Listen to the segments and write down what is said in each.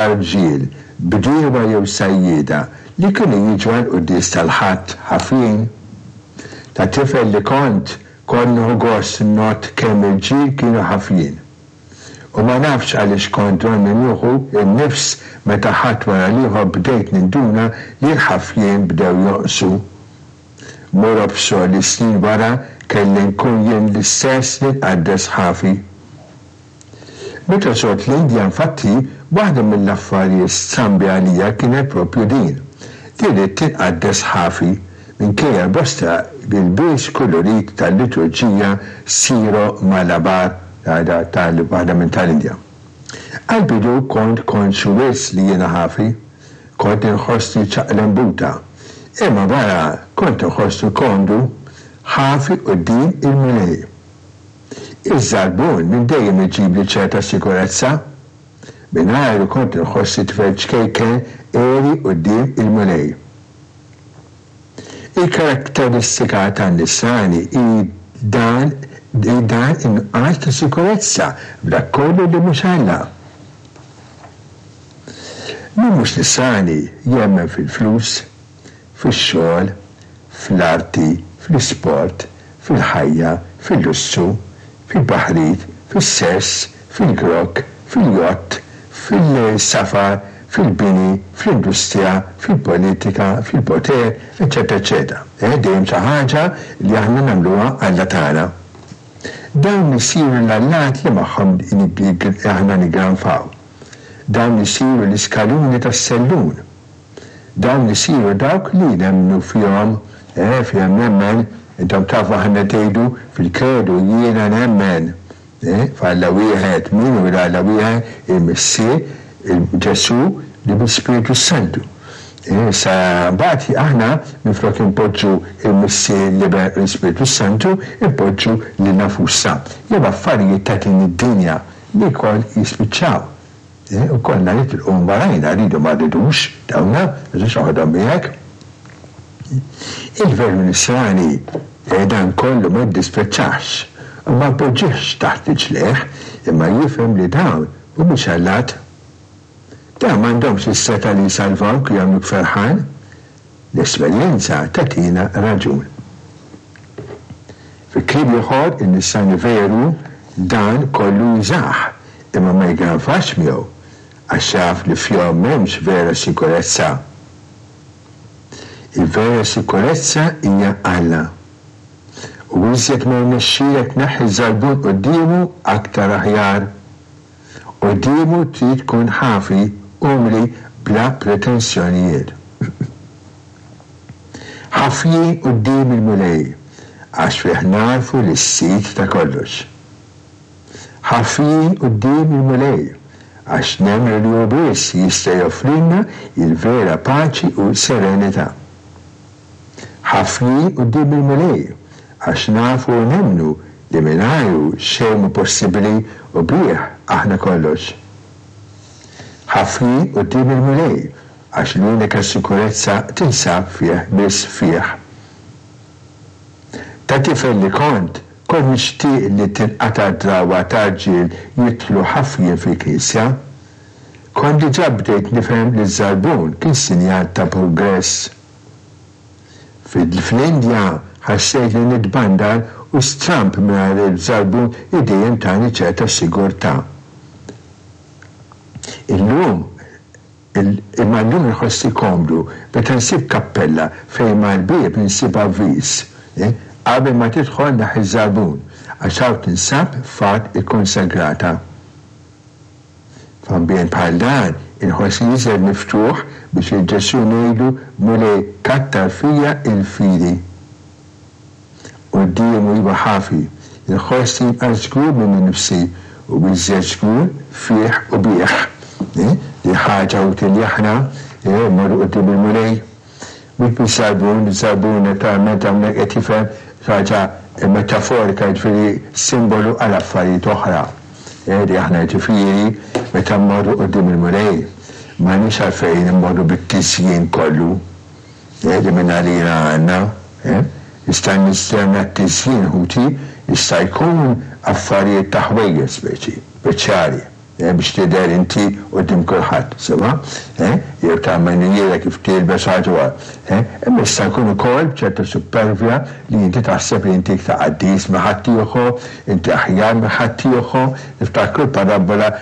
Rġiel, bdiewa jew sajjieda li kienu jiġu għall-quddies tal-Ħadd ħafjin. Ta' tifel li kont, kont nieħu gost ngħodd kemm irġiel kienu ħafjin. U ma nafx għaliex kont donni nieħu n-nifs meta Ħadd wara l-ieħor bdejt ninduna li l-ħafjin bdew jonqsu. Mur obsor li snin wara kelli nkun jien l-istess li nqaddes ħafi. Meta żort l-Indja infatti, waħda mill-affarijiet strambi għalija kienet proprju din, li ridt tinqaddes ħafi, minkejja l-bosta ilbies kulurit tal-liturġija Siro-Malabar, tal waħda minn tal-Indja. Għall-bidu kont konxju wisq li jiena ħafi, kont inħossni ċaqlembuta, imma wara kont inħossni komdu, ħafi quddiem il-Mulej. Iż-żarbun minn dejjem iġibli ċerta sikurezza. Mingħajru kont inħossni tifel ċkejken għeri quddiem il-Mulej. Il-karatteristika tan-Nisrani hi dan hi dan in-nuqqas ta' sikurezza f'dak kollu li mhux Alla. Min mhux Nisrani jemmen fil-flus, fix-xogħol, fl-arti, fl-isport, fil-ħajja, fil-lussu, fil-baħrit, fis-sess, fil-grokk, fil-jott, fil-safar, fil-bini, fl-industrija, fil-politika, fil-poter, eċċetera eċċetera. Eh, dejjem xi ħaġa li aħna nagħmluha alla tagħna. Dawn isiru l-allat li magħhom aħna niggranfaw. Dawn isiru l-iskaluni tas-sellun. Dawn isiru dawk li nemmnu fihom, eh, fihom nemmen, intom tafu aħna tgħidu fil-kredu jiena nemmen, eh, f'Alla wieħed, min hu l-Alla wieħed? Il-Missier, il-Ġesù, li bl-Ispirtu s-Santu. Eh, sa mbagħad aħna minflok inpoġġu il-Missier, l-Iben u l-Ispirtu s-Santu, inpoġġu lilna nfusna jew affarijiet ta' din id-dinja li wkoll jispiċċaw. U konna nitilqu warajna, rridu ma rridux, dawna, ma tistax toħodhom miegħek. Il-veru Nisrani dan kollu ma jiddisprezzahx u ma jpoġġihx taħt riġlejh, imma jifhem li dawn mhumiex allat. Dawn m'għandhomx is-setgħa li jsalvawk u jagħmluk ferħan. L-esperjenza tagħtina raġun. Fi kliem ieħor, in-Nisrani veru dan kollu jużah, imma ma jigranfax miegħu, għax jaf li fihom m'hemmx vera sikurezza. Il-vera sikurezza hija Alla. U iżjed ma jirnexxilek tneħħi ż-żarbun quddiemu, aktar aħjar. Quddiemu trid tkun ħafi, umli, bla pretensjonijiet. Ħafjin quddiem il-Mulej, għax fih nagħrfu lis-Sid ta' kollox. Ħafjin quddiem il-Mulej, għax nemmnu li hu biss jista' joffrilna l-vera paċi u serenità. Ħafjin quddiem il-Mulej, għax nafu u nemmnu li mingħajru xejn mhu possibbli u bih aħna kollox. Ħafjin quddiem il-Mulej, għax l-unika sikurezza tinsab fih biss fih. Ta' tifel li kont, kont nixtieq li tinqata' d-drawwa ta' rġiel jidħlu ħafjin fil-knisja. Kont diġà bdejt nifhem li ż-żarbun kien sinjal ta' progress. Fl-Indja ħassejt li nitbandal u stramb mingħajr il-żarbun li dejjem tani ċerta sigurtà. Illum, imma llum inħossni komdu meta nsib kappella fejn mal-bieb insib avviż, Qabel ma tidħol neħħi ż-żarbun, għax hawn tinsab f'art ikkonsagrata. F'ambjent bħal dan, inħossni iżjed miftuħ biex lil Ġesù ngħidlu, Mulej, kattar fija l-fidi. Quddiemu iva ħafi, inħossni inqas żgur minni nnifsi u iżjed żgur fih u bih. Li ħaġa utli li aħna mmorru quddiem il-Mulej. Mhux biż-żarbun, iż-żarbun naturalment hawnhekk qed jifhem ħaġa metaforika, jiġifieri simbolu għal affarijiet oħra. Li aħna jiġifieri meta mmorru quddiem il-Mulej m'għandniex għalfejn immorru bit-tiżjin kollu li mingħalina għandna. Jista' nistenna t-tiżjin ħuti, jista' jkun affarijiet ta' ħwejjeġ speċi, speċjali. Biex tidher inti quddiem kulħadd, sewwa? Jew ta' manjiera kif tilbes ħaġa wa. Imma jista' jkun ukoll b'ċerta suppervja li inti taħseb li inti iktar qaddis minn ħaddieħor, inti aħjar minn ħaddieħor. Niftakru l-parabbola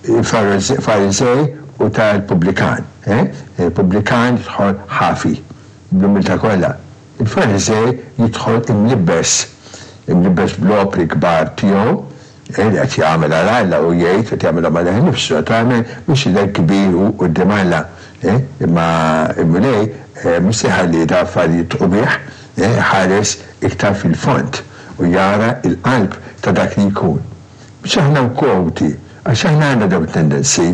tal-Fariżej u tal-pubblikan. Il-pubblikan jidħol ħafi, bl-umiltà kollha. Il-Fariżej jidħol imlibbes, imlibbes bl-opri kbar tiegħu, li qed jagħmel għal Alla u jgħid qed jagħmilhom għalih innifsu, naturalment biex jidher kbir hu quddiem Alla. Imma l-Mulej mhux se jħalli dawn l-affarijiet jidħqu bih, iħares iktar fil-fond u jara l-qalb ta' dak li jkun. Biex aħna wkoll ħuti, għax aħna għandna dawn it-tendenzi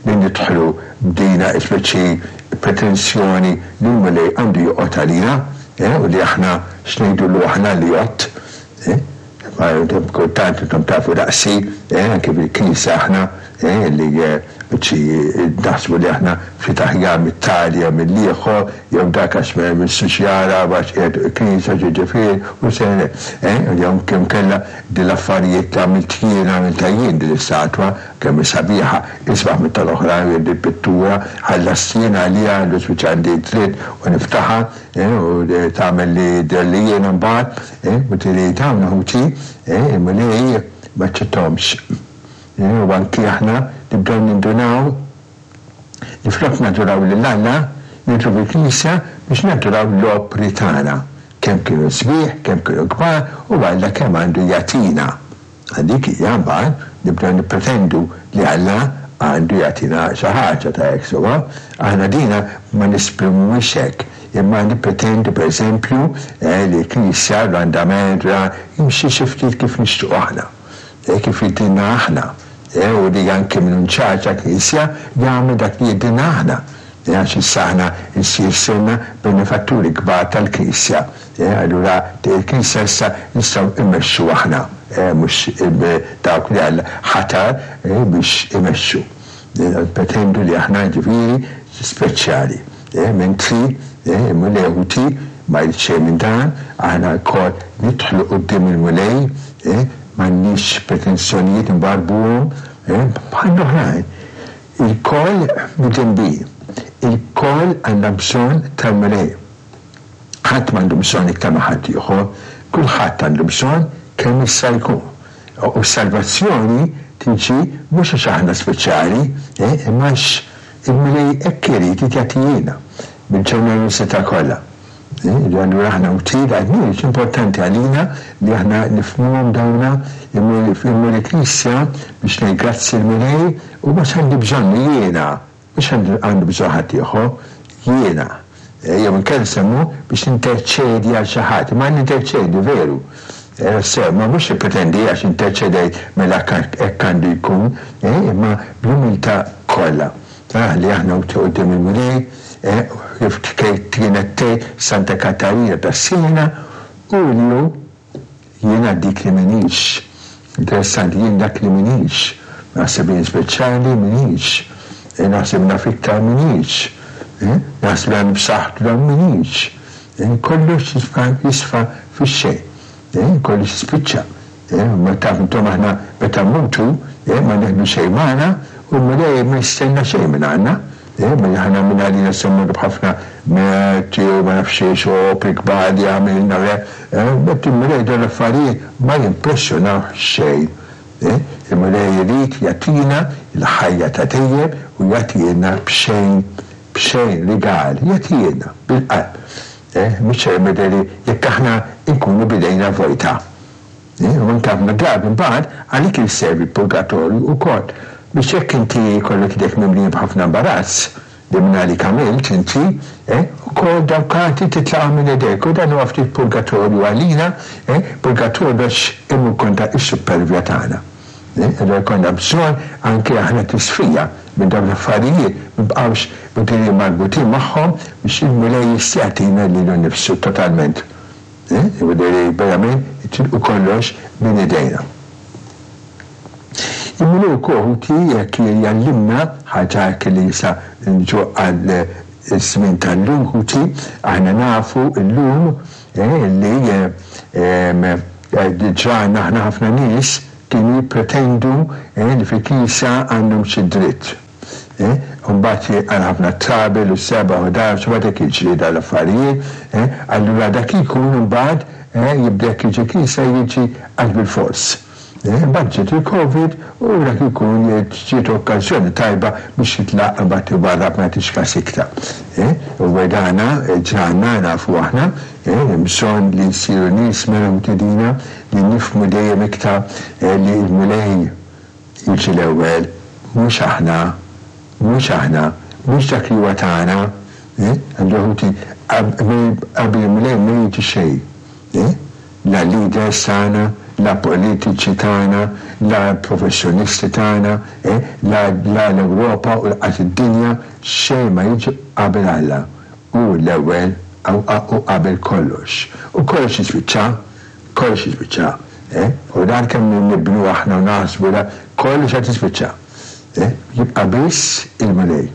li nidħlu b'dina speċi pretensjoni li l-Mulej għandu joqgħod għalina u li aħna x'ngħidulu aħna li jgħodd. Imma intom kultant intom tafu daqsi, eh, anke fil-Knisja aħna, eh, li biċċi naħsbu li aħna ftit aħjar mit-tali jew mill-ieħor, jew dak għax ma jmissux jara għax qiegħed il-Knisja ġiġifieri u se, eh, jew kemm kellha din l-affarijiet li għamilt jien għamiltha jien din l-istatwa, kemm hi sabiħa, isbaħ minn tal-oħrajn jew din pittura ħallast jien għaliha, allura spiċċa għandi d-dritt u niftaħha, eh, u tagħmel li jidher li jiena mbagħad. U tiri dawn ħuti, il-Mulej m'aċċetthomx. U anki aħna nibdew nindunaw li flok naduraw lil Alla, nidhru fil-knisja biex naduraw l-opri tagħna, kemm kienu sbieħ, kemm kienu kbar u Alla kemm għandu jagħtina. Għal dik hija mbagħad nibdew nippretendu li Alla għandu jagħtina xi ħaġa ta' hekk sewwa. Aħna dina ma nesprimuhiex hekk, imma nippretendu pereżempju li l-Knisja, l-andament, jimxi xi ftit kif nixtiequ aħna, kif jidhrilna aħna, u li anki min hu in charge tal-Knisja jagħmel dak li jidhrilna aħna, għax issa aħna nsir sirna benefatturi kbar tal-Knisja. Allura il-Knisja issa nistgħu immexxu aħna, mhux dawk li Alla ħatar biex imexxu. Nippretendu li aħna jiġifieri speċjali. Mentri il-Mulej ħuti ma jrid xejn minn dan, aħna lkoll nidħlu quddiem il-Mulej, m'għandniex pretensjonijiet nwarrbuhom bħall-oħrajn. Ilkoll midinbin, ilkoll għandna bżonn tal-Mulej. Ħadd m'għandu bżonn iktar minn ħaddieħor, kulħadd għandu bżonn kemm jista' jkun. U s-salvazzjoni tiġi mhux għax aħna speċjali, imma għax il-Mulej hekk irid, irid jagħtihielna bil-ġenerożità kollha. Allura aħna wtied għad-nies, importanti għalina li aħna nifhmuhom dawna, immur il-knisja biex ngħid grazzi l-Mulej u mhux għandi bżonnu jiena. Mhux għandu bżonn ħaddieħor, jiena. Jew inkella nsemmu biex ninterċedi għal xi ħadd. Imma ninterċedi, veru. Sew, ma mhux nippretendi għax interċedejt mela hekk għandu jkun, imma bl-umiltà kollha. Li aħna quddiem il-Mulej, kif kienet tgħid Santa Katarina ta' Siena, hu li hu Jiena dik li m'iniex. Interessanti, jien dak li m'iniex. Naħseb jien speċjali, m'iniex. Naħseb naf iktar, m'iniex. Naħseb li għandi b'saħħtu dan, m'iniex. Kollox jisfa' jisfa' fix-xejn. Kollox jispiċċa. Ma taf intom aħna meta mmutu, ma nieħdu xejn magħna u l-Mulej ma jistenna xejn minn għandna. Mela aħna minn għalina se mmorru b'ħafna merti u ma nafx xiex u opri kbar li għamilna u hekk. But il-Mulej dawn l-affarijiet ma jimpressjonawh xejn. Il-Mulej irid jagħtina l-ħajja ta' dejjem u jagħtihielna b'xejn, b'xejn, rigal, jagħtihielna bil-qalb. Mhux li jekk aħna nkunu b'idejna vojta. U anke ħafna drabi mbagħad għalik jservi l-purgatorju wkoll biex jekk inti jkollok idejk mimlijin b'ħafna imbarazz li mingħalik għamilt inti, eh, ukoll dawk għad titlaqhom minn idejk u dan huwa ftit purgatorju għalina, eh, purgatorju għax imur kontra s-suppervja tagħna. Eh, allura jkollna bżonn anke aħna tisfija minn dawn l-affarijiet, ma nibqgħux mudiri marbutin magħhom biex il-Mulej jista' jagħtina lilu nnifsu totalment. Jiġifieri verament jitilqu kollox minn idejna. Il-Mulej ukoll ħuti jekk jgħallimna ħaġa hekk li issa niġu għal żmien tal-lum ħuti, aħna nafu llum li ġrajna aħna ħafna nies. kienu jippretendu li fil-Knisja għandhom xi dritt. U mbagħad għal ħafna trouble u seba' u ħdax u mbagħad hekk jiġri dawn l-affarijiet. Allura dak li jkun imbagħad jibda jekk jiġi l-Knisja jiġi għax bilfors. Imbagħad ġiet il-Covid u dak ikun ġiet okkażjoni tajba biex jitlaq imbagħad iwarrab ma jagħtix kas iktar. U dana ġralna nafu aħna, hemm bżonn li nsiru nies mela mtedina li nifhmu dejjem iktar li l-Mulej jiġi l-ewwel, mhux aħna, mhux aħna, mhux dak li huwa tagħna. Allura ħuti, qabel il-Mulej ma jiġi xejn. La leaders tagħna, la politiċi tagħna, la professjonisti tagħna, la la l-Ewropa u lanqas id-dinja, xejn ma jiġi qabel Alla. Hu l-ewwel u qabel kollox. U kollox jispiċċa, kollox jispiċċa. U dan kemm nibnu aħna u naħsbu da, kollox qed jispiċċa. Jibqa' biss il-Mulej.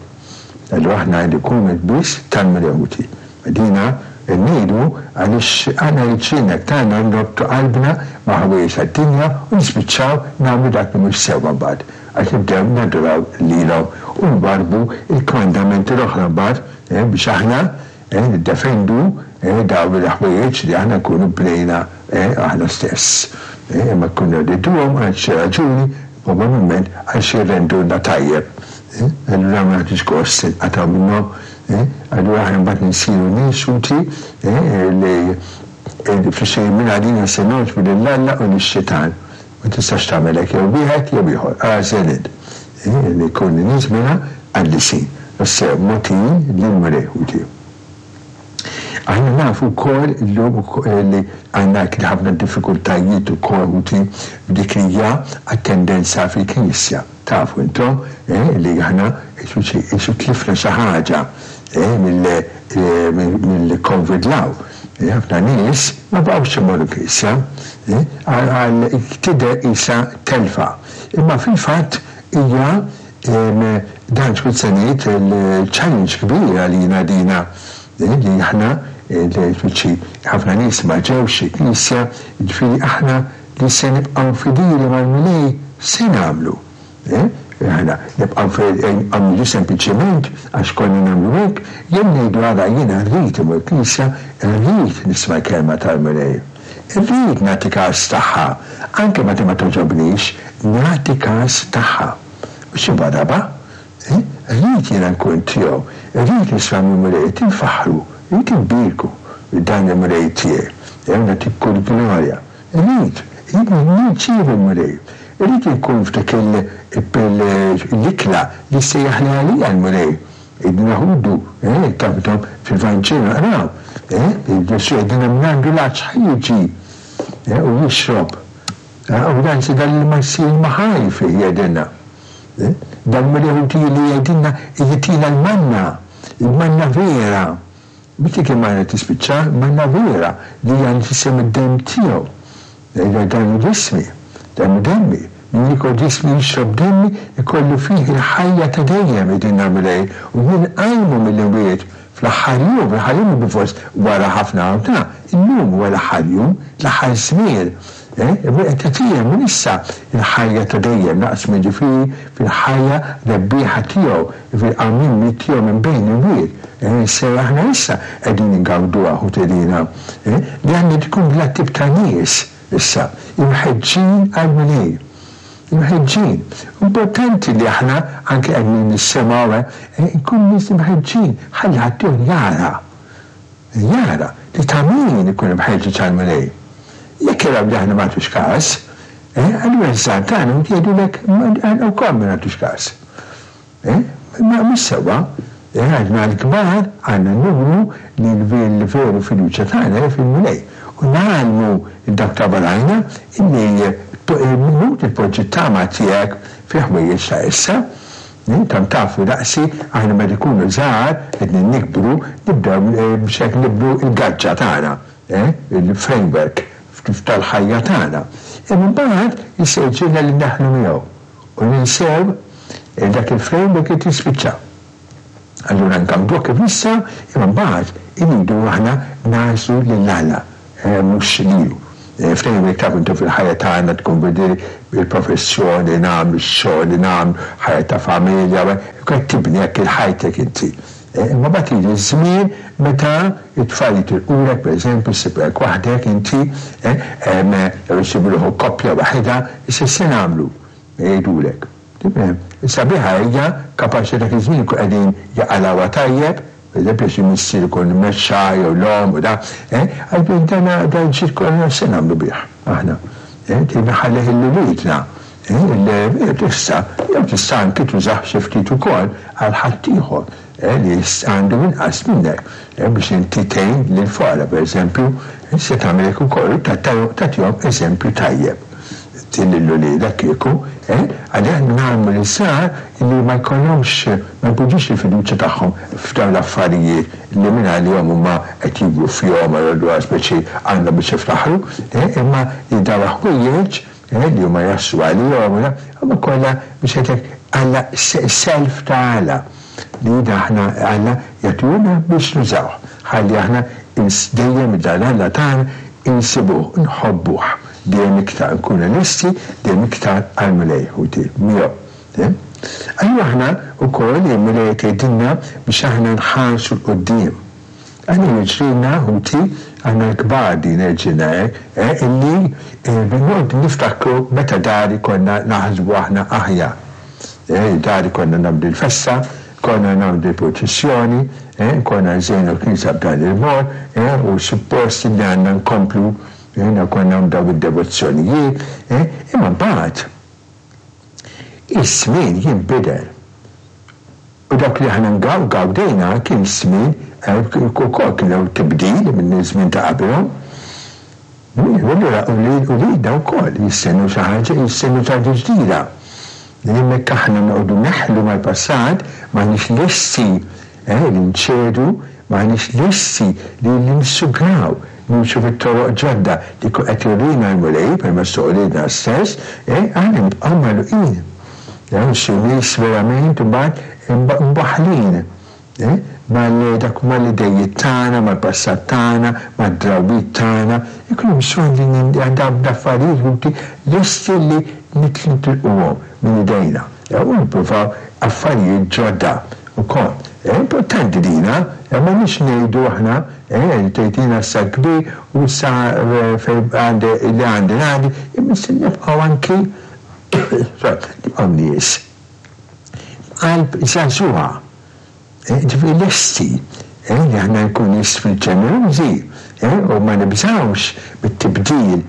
Allura aħna nkunu biss tal-Mulej ħuti. Dina ngħidu għaliex aħna jiġrilna tagħna norbtu qalbna ma' ħwejjeġ tad-dinja u nispiċċaw nagħmlu dak li mhux sewwa mbagħad għax nibdew naduraw lilhom u nwarrbu l-kmandamenti l-oħra mbagħad biex aħna niddefendu dawn il-ħwejjeġ li aħna nkunu bnejna aħna stess. Imma nkunu rriduhom għal xi raġuni, probabbilment għax jirrendulna tajjeb. Allura ma nagħtux gost inqatgħu minnhom. Allura aħna mbagħad insiru nies utli li fi xejn minn għalina se nogħġbu lil Alla u lix-xitan. Ma tistax tagħmel hekk jew wieħed jew ieħor. Agħżel int. Li jkunu nies mela qaddisin, ossia mogħtijin lill-Mulej ħuti. Aħna nafu wkoll illum li għandna ħafna diffikultajiet ukoll ħuti f'dik li hija attendenza fil-Knisja. Tafu intom li aħna qisu tlifna xi ħaġa mill-Covid 'l hawn. Ħafna nies ma baqgħux imorru knisja għal tidher qisha telfa. Imma fil-fatt hija dan x'kont se ngħid challenge kbir għalina dina li aħna ħafna nies ma ġewx il-knisja, jiġifieri aħna li se nibqgħu fidili mal-Mulej se nagħmlu? Eh? Aħna nibqgħu nagħmlu sempliċement għax konna nagħmlu hekk, jew ngħidu ara jiena rrid imur knisja, rrid nisma' l-kelma tal-Mulej. Irrid nagħti każ tagħha, anke meta ma togħġobnix, nagħti każ tagħha. Mhux inwarrabha. Eh? Rrid jiena nkun tiegħu, irrid nisma' mill-Mulej, irrid infaħħru, irrid inbierku dan il-Mulej tiegħi. Eh, nagħtik kull glorja. Irrid, irrid nirċievi l-Mulej. Irrid inkun f'dik l-ikla li sejjaħli għalija l-Mulej. Irridu naħudu, eh, tafdom fil-Vanġelu naqraw, eh, Ġesù jgħidilna min għandu l-għatx ħa jiġi, eh, u jixrob. Eh, u dan se dan l-ilma jsir ilma ħaj fih jgħidilna. Eh, dan Mulej ħuti li jgħidilna jtina l-manna, il-manna vera. Mhux dik il-manna tispiċċa, manna vera li hija nfisha mid-demm tiegħu. Jgħidha dan hu ġismi, dan hu demmi. Min jiekol ġismi jixrob demmi ikollu fih il-ħajja ta' dejjem, jgħidilna l-Mulej, u jien nqajmu mill-imwiet fl-aħħar jum, fl-aħħar jum bilfors wara ħafna ta' illum huwa l-aħħar jum, l-aħħar żmien. Il-Mulej qed jagħtina minn issa l-ħajja ta' dejjem, naqsmu jiġifieri fil-ħajja rebbieħa tiegħu, jiġifieri qawmien miet tiegħu minn bejn l-imwiet. Se aħna issa qegħdin ingawduha ħutilina, li għandna tkun bla tip ta' nies issa, imħeġġin għall-Mulej. Imħeġġin. Importanti li aħna anke qegħdin nissemgħu, nkunu nies imħeġġin, ħalli ħaddieħor jara. Jara li ta' min ikun imħeġġeġ għall-Mulej. Jekk jaraw li aħna ma nagħtux każ, allura ż-żgħar tagħna jgħidulek aħna wkoll ma nagħtux każ. Imma mhux sewwa. Aħna l-kbar għandna nuru li l-veru fiduċja tagħna hi fil-Mulej. U ngħallmu lil dawk ta' warajna illi inutli tpoġġi t-tama tiegħek fi ħwejjeġ ta' issa. Intom tafu daqsi, aħna meta nkunu żgħar, qegħdin nikbru, nibdew biex hekk nibnu l-gaġġa tagħna, il-framework tal-ħajja tagħna. Imma mbagħad jista' jiġrilna li neħlu miegħu u ninsew dak il-framework irid jispiċċa. Allura ngawduh kif nistgħu, imma mbagħad irridu aħna nagħżlu lil Alla, mhux lilu. F'dejjem taf intom fil-ħajja tagħna tkun bil-professjoni li nagħmlu, x-xogħol li nagħmlu, ħajja ta' familja, qed tibni hekk il-ħajtek inti. Imma mbagħad jiġi ż-żmien meta t-tfal jitilqulek, pereżempju, ssibek waħdek inti, jew issibu ruħu koppja waħedha, issa x'se nagħmlu? Jgħidulek. Sabiħa hija kapaċi dak iż-żmien ikun qegħdin jaqalgħuha tajjeb, pereżempju xi missier ikun mexxa jew l-omm u da, eh, għalfejn dan dan ġid kollu x'se nagħmlu bih aħna? Eh, trid nħallih lil uliedna, eh, tista' jew tista' anki tużah xi ftit ukoll għal ħaddieħor, eh, li għandu inqas minnek, eh, biex inti tgħin lill-foqra pereżempju, se tagħmel hekk ukoll u tagħtihom eżempju tajjeb. Lil uliedek kieku, eh? Għalli aħna ngħallmu liż-żgħar li ma jkollhomx, ma jpoġġux il-fiduċja tagħhom f'dawn l-affarijiet li mingħalihom huma qed jikbru fihom u allura speċi għandhom biex jiftaħru, eh? Imma li dawn il-ħwejjeġ, eh, li huma jaslu għalihom u huma kollha biex ngħidlek Alla self ta' Alla li aħna Alla jagħtihulna biex nużawh ħalli aħna dejjem dan Alla tagħna insibuh, nħobbuh. Dejjem iktar nkunu lesti, dejjem iktar għall-Mulej, ħuti, miegħu. Allura aħna wkoll il-Mulej qed jgħidilna biex aħna nħarsu 'l quddiem. Aħna jiġrilna, ħuti, aħna l-kbar din jiġrilna hekk, eh, illi noqogħdu niftakru meta dari konna naħsbu aħna aħjar. Eh, dari konna nagħmlu l-festa, konna nagħmlu l-purċissjoni, eh, konna nżejnu l-knisja b'dan il-mod, eh, u suppost li għandna nkomplu Aħna konna nagħmlu dawn id-devozzjonijiet, eh, imma mbagħad iż-żmien jinbidel. U dak li aħna gawdejna kien żmien eh, ukoll kien hemm tibdil minn żmien ta' qabilhom. Allura uliedna wkoll jistennew xi ħaġa, jistennew xi ħaġa ġdida. Hemmhekk aħna noqogħdu neħlu mal-passat, m'aħniex lesti eh, li nċedu, m'aħniex lesti li nissugraw, nimxu fit-toroq ġodda li jkun qed jurina l-Mulej permezz ta' uliedna stess, eh, aħna nibqgħu magħluqin. Eh, xi nies verament imbagħad imbaħħlin eh, mal dak mal-idejiet tagħna, mal-passat tagħna, mad-drawwiet tagħna, ikun hemm bżonn li dawn l-affarijiet ħuti lesti li nitilquhom minn idejna. U nippruvaw affarijiet ġodda ukoll. Importanti dina, m'għandniex ngħidu aħna, tgħid jiena issa kbir u issa fejn għandi li għandi ngħaddi, imma se nibqgħu anki nibqgħu nies b'qalb żagħżugħa, ġifieri lesti li aħna nkunu nies ġenerużi u ma nibżgħux mit-tibdil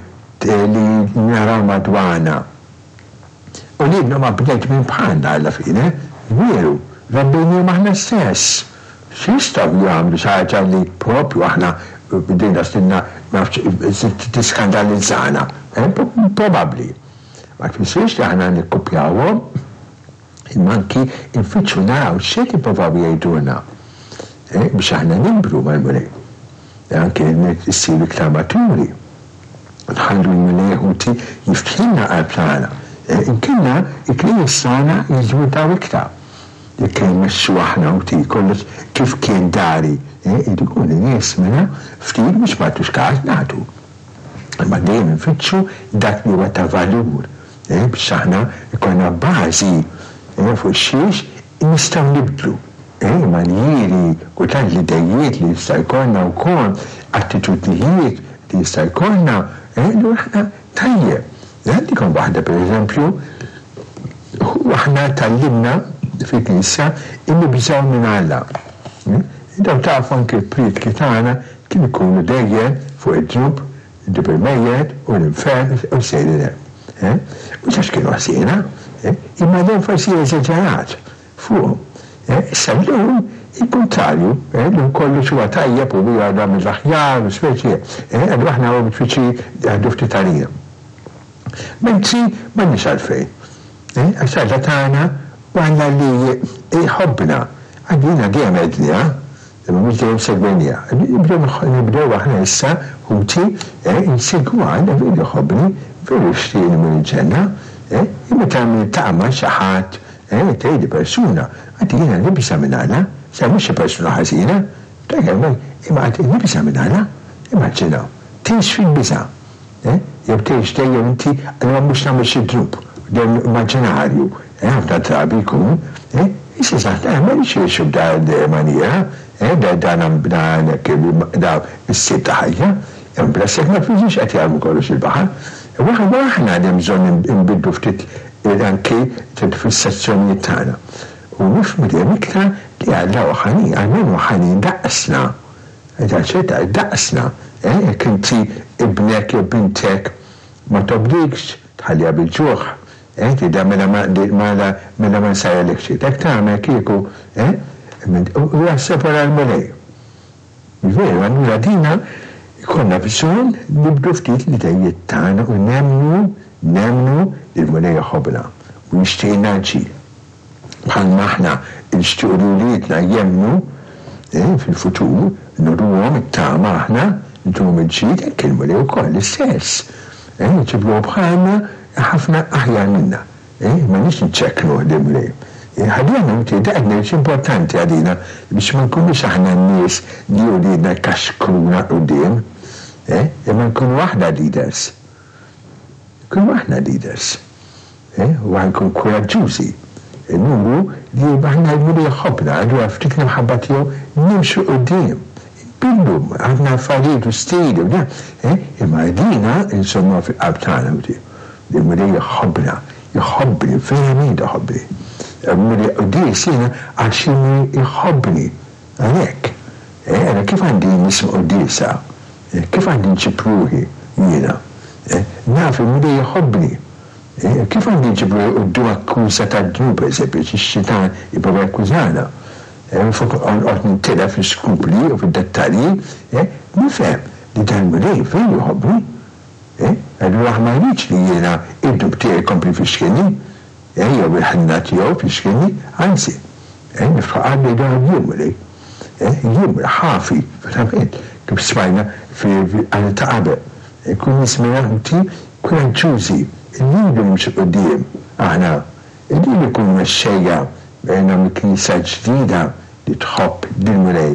li naraw madwarna. Uliedna huma bnedmin bħalna alla fine, veru, rabbejniehom aħna stess. X'jistgħu jagħmlu xi ħaġa li proprju aħna bdejna sninna ma nafx tiskandalizzana? Probabbli. Ma jfissirx li aħna nikkupjawhom, imma anki nfittxu naraw x'qed jipprovaw jgħidulna biex aħna nikbru mal-Mulej. Anki nsiru iktar maturi. Nħallu l-Mulej ħuti jiftħilna qalb tagħna. Inkella l-knejjes tagħna jiżwitaw iktar. Jekk immexxu aħna ħuti kollox kif kien dari, jridu jkunu nies mela ftit biex ma nagħtux każ nagħtu. Imma dejjem infittxu dak li huwa ta' valur biex aħna jkollna bażi fuq xiex nistgħu nibdlu. Manjieri, kultant l-idejiet li jista' jkollna wkoll, attitudnijiet li jista' jkollna, allura aħna tajjeb. Ngħaddikom waħda pereżempju, aħna tgħallimna fil-Knisja nibżgħu minn Alla. Intom tafu anke l-prietki tagħna kienu jkunu dejjem fuq id-dnub, id-dnub il-mejjet u l-infern u sejrin hemm. Mhux għax kienu ħżiena, imma l-enfasi eżaġerat fuqhom. Issa llum il-kuntrarju, llum kollox huwa tajjeb u huwa da mill-aħjar u speċi, allura aħna huwa diffiċli jaħdu ftit għalina. Mentri m'għandniex għalfejn. Għax Alla tagħna u Alla li jħobbna. Għalina dejjem għedniha, imma mhux dejjem segwejniha. Nibdew aħna issa, ħuti, insegwu Alla veru jħobbni, veru jixtieqni mmur il-ġenna. Imma meta niltaqa' ma' xi ħadd Eh, tgħidli persuna, għad jiena nibża' minn Alla, sa mhux xi persuna ħażina, imma għad nibża' minn Alla, immaġinaw, tgħix fil-biża'. Eh? Jew tgħix dejjem inti allura mhux nagħmel xi dnub, dejjem immaġinarju, eh, ħafna drabi jkun, eh, issa saħt eh, ma rridx ngħixu b'dal maniera, eh, da dan dan da s-stil ta' ħajja, hemm bla sekk ma tfiżix qed jarmu kollox il-baħar. Waħda aħna li hemm bżonn inbidlu ftit anki fis-sezzjonijiet tagħna. U nifhmu dejjem iktar li Alla hu ħanin, almenu ħanin daqsna. Taċċetta, daqsna, eh, jekk inti ibnek jew bintek ma tobdikx, tħalliha bil-ġuħ, eh, tgħidilha mela ma mela mela ma nsajjarlek xejn. Hekk tagħmel kieku, eh, u jaħseb wara l-Mulej. Veru, allura dina jkollna bżonn nibdlu ftit l-idejiet tagħna u nemmnu, nemmnu li l-Mulej iħobbna u jixtieqilna l-ġid. Bħalma aħna nixtiequ li wliedna jemmnu fil-futur, nuruhom it-tama aħna, ntuhom il-ġid, hekk il-Mulej ukoll l-istess. Iġibruhu bħalna ħafna aħjar minna. M'għandniex niċċekknuh lill-Mulej. Ħalli aħna inti dak qed ngħid importanti għalina biex ma nkunux aħna n-nies li uliedna jkaxkruna 'l quddiem, imma nkunu aħna leaders. Nkunu aħna leaders. U aħna nkunu kuraġġużi. Nuru li aħna l-Mulej iħobbna, allura f'dik l-imħabba tiegħu nimxu 'l quddiem. Inbidlu ħafna affarijiet u stili u dan, imma dina insomma fil-qalb tagħna li l-Mulej iħobbna, iħobbni, verament iħobbni. Il-Mulej quddies jiena għax il-Mulej iħobbni. Għalhekk, ara kif għandi nisma' quddiesa, kif għandi nġib ruħi jiena. Naf il-Mulej iħobbni. Kif għandi nġib ruħi quddiem akkuża tad-dnub, pereżempju, xi xitan jipprova jakkużana. Minflok noqgħod nintilef fl-iskrupli u fid-dettalji, nifhem li dan il-Mulej veru jħobbni. Allura ma jridx li jiena id-dnub tiegħi jkompli jfixkilni. Jew il-ħniena tiegħu fixkilni, anzi, niftħu qalbi ngħidu jien Mulej. Jien Mulej, ħafi, verament, kif smajna fil-qari ta' qabel. Nkunu nies minn kuraġġużi, irridu nimxu quddiem aħna, irridu nkunu mexxejja nagħmlu knisja ġdida li tħobb lill-Mulej.